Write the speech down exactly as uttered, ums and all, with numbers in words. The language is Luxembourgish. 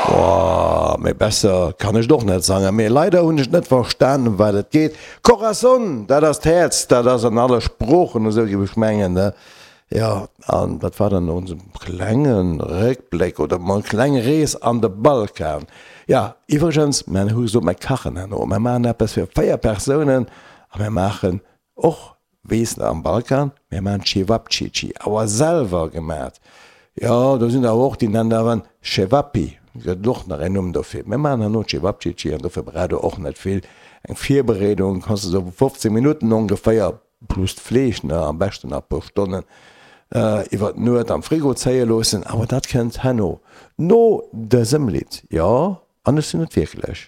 Boah, méi besser kann ech et och net sangen, mee leider hunn ech net verstanen, ëm wat et geet. Corazon, dat ass d'Häerz, dat ass an alle Sproochen esou, géif ech mengen, ne? Jo, an dat war dann onse klenge Réckbléck oder mol kleng Rees an de Balkan. Jo, iwwregens, mer hu gesot, mer kachen herno, mer maachen eppes fir véier Persounen a mer maachen och, weess de, am Balkan, mer maachen Cevapcici, awer selwer gemat. Jo, do sinn der och, déi nennen dat awer Cevapi, gëtt et och nach en Numm dofir. Mir maachen herno Cevapcici an dofir braucht der och net vill. Eng Virbereedung kanns de sou fofzéng Minutten ongeféier, plus d'Fleesch, ne, am beschten nach e puer Stonnen iwwer d'Nuet am Frigo zéie loossen. Awer dat kënnt herno, no dësem Lidd. Jo, an ech sinn et wierklech.